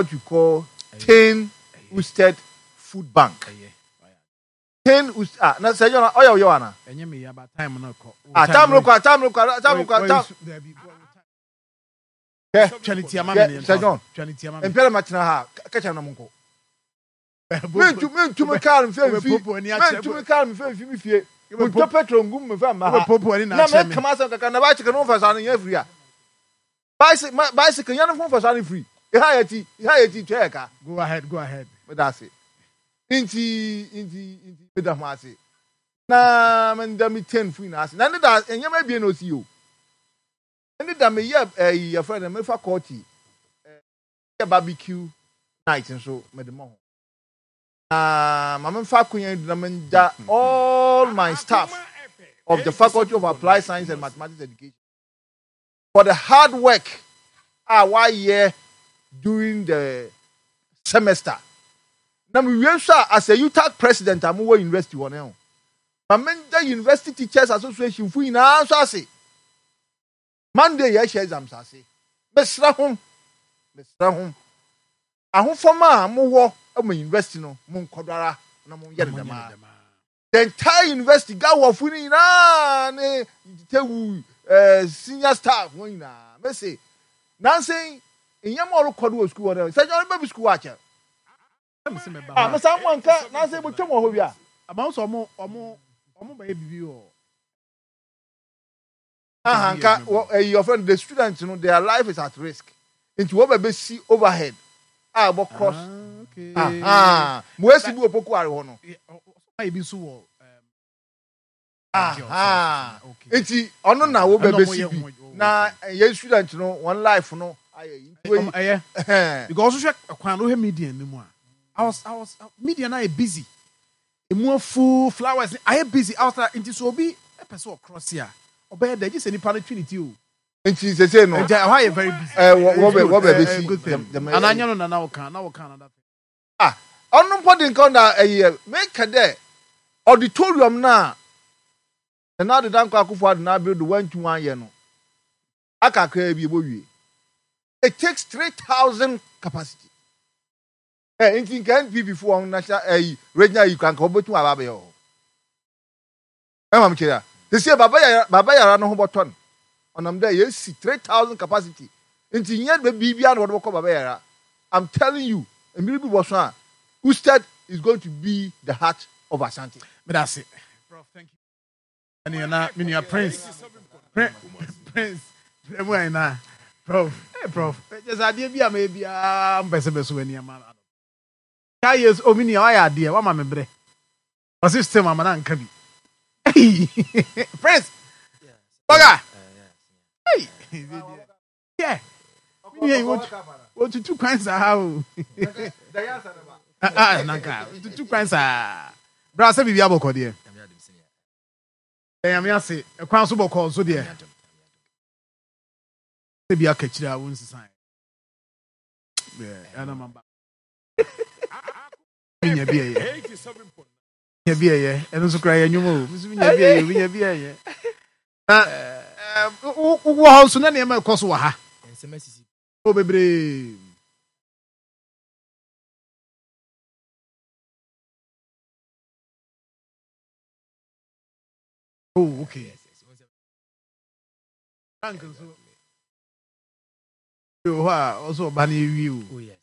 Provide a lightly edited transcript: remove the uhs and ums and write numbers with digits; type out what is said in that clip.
what you call Tain Usted Food Bank. Tain Usted ah na sɛ yɔn ɔyɛ ɔyɛ wana. Ɛnyɛ mi yaba time no kɔ. Ah time no kɔ time no kɔ time no kɔ time. Kɛ kɛ sɛ John mpɛrɛ ma tena ha kɛkyɛ na mo nkɔ. Mentumi kaa no mfɛ mfi mentumi kaa no mfɛ mfi me fie. Mentɔ petrol ngu mu mfɛ mma ha. Na meka m'asɛm kakra na bicycle no mfa saa no nyɛ free a. Bicycle ma bicycle yɛn no mfa saa no free. Eha yɛ ti eha yɛ ti twɛ yɛ ka. Go ahead go ahead. Meda ase. Nti nti nti meda ho ase. Na menda me ten fo nyinaa ase. Na ne da nneɛma ebien na osi o. Ne da meyɛ ɛyi yɛfrɛ no mefa kɔɔti. Yɛ barbecue night nso mede mɔ ho. Na ma memfa akonya yi do na menda all my staff of the Faculty of Applied Science and Mathematics Education for the hard work a wɔayɛ during the semester. Na mewie nso a, as a UTAG president a mowɔ university hɔ no, ma menda University Teachers Association fo nyinaa nso ase. Monday yɛhyɛ exams ase. Mesrɛ hom, mesrɛ hom, ahofama a mowɔ ma university no, monkɔ do ara na monyɛ no dɛm ara. The entire university, Gawɔfo no nyinaa ne Tewu eh, senior staff wɔn nyinaa, mese, nansa yi, nneɛma a ɔrekɔ do wɔ sukuu hɔ no, sɛ ɔreba bi sukuu hɔ akyɛr. Ah, mesan mo anka, nansa yi botwam wɔ hɔ bi a. Ama wo sɛ ɔmo ɔmo ɔmo bɛyɛ biribi wɔ. Aha nka wɔ ɛyi ɔfrɛ no the students no their life is at risk nti wɔ bɛ bɛ si overhead a ɛbɔ cross aha mo esi bi wɔ poku are hɔ no aha nti ɔno na wɔ bɛ bɛ si bi na yɛn student no wɔn life no ayɛ yi nti wɔ yi ɛyɛ because ɔhwɛ kwan no hwɛ media no mu a I was I was media no ayɛ busy Emu afuw, flowers ne ayɛ busy outside nti sɛ obi pɛ sɛ ɔcross a, ɔbɛyɛ dɛn? Gye sɛ nipa no twe ne ti o. Nti sesei no. Nti ɛhɔ ayɛ very busy. Ɛɛ wɔ wɔbɛ wɔbɛ besi dɛm dɛm. Anaa nyɛ no na na wɔka na wɔka another thing. Ah ɔno mpo de nka ɔna ɛyɛ meka dɛ auditorium no a Nana Addo Dankwa Akufo Addo n'aber do wɔanntum annyɛ no aka kakraa bi ebowie. It takes 3000 capacity. Ɛ nti nka NPP fo wɔn national ɛyi regional yi kora nka wɔbɛtum aba abɛyɛ wɔ hɔ. Ɛma mo kyerɛ a. Sisi baba yara baba yara no ho bɔtɔ no. Ɔnam dɛ yɛsi 3000 capacity. Nti nyɛ bɛ biribiara na wɔde bɛkɔ baba yara. I'm telling you, mmiri bi bɔso a, Usted is going to be the heart of Asante. Meda ase. Prof, thank you. Ɛneɛ na me nua Prince Prince brɛ mu ayɛ na Prof eh Prof kyɛ sɛ adeɛ bi a mɛyɛ biara mpɛ sɛ bɛso w'ani ama no ka yɛ o me nua wayɛ adeɛ wama me brɛ ɔse still mama no anka bi Prince bɔga hey yɛ me nua yi wɔtutu kwan saa o nanka tutu kwan saa bra sɛ biribi abɔkɔ deɛ Nyame ase ɛkwan so bɔkɔɔ nso deɛ sɛ bi aka kyerɛ a wo nsesa ɛna ma ba nya bi ɛyɛ nya bi ɛyɛ ɛno nso kora yɛ nnwom o nso nya bi ɛyɛ nya bi ɛyɛ na wowɔ hɔ nso na nneɛma ɛkɔ so wɔ ha o bebree. Oh, okay. Yes, yes. Yes. Frank nso. Wɔ hɔ a ɔsɛ ɔba no ewie o. Oh yes.